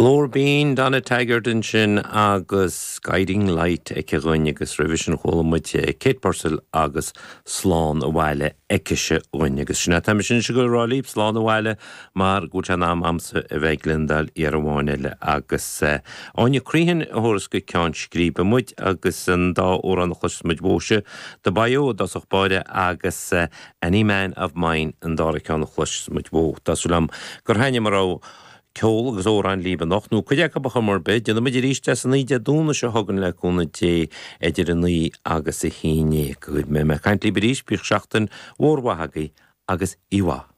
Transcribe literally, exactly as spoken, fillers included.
Glór binn Donna Taggart ansin agus Guiding Light aici dhúinn agus roimhe sin chuala muid Kate Purcell agus Slán Abhaile aicise dhúinn agus sin tá sin se go rá libh slán abhaile mar go bhfuil sé in am a'msa a bheith ag gliondáil uair amháin eile agus Áine Crehan a thabharfas go ceann scríbe muid agus an dá amhrán a chloisfidh muid uaithe The Bayou i dtosach báire agus Any Man of Mine an dara ceann a chloisfidh muid uaidh. Tá súil agam gur thaitnigh mar ceol agus amhráin libh anocht nó cuid acu a chum ar bith, déanfaidh muid arís é san oíche Dé Domhnaigh seo chugainn le cúnamh Dé idir a naoi agus a haon déag. Go mbeidh mé ag caint libh arís, bíodh seachtain mhór mhaith agaibh agus oíche mhaith.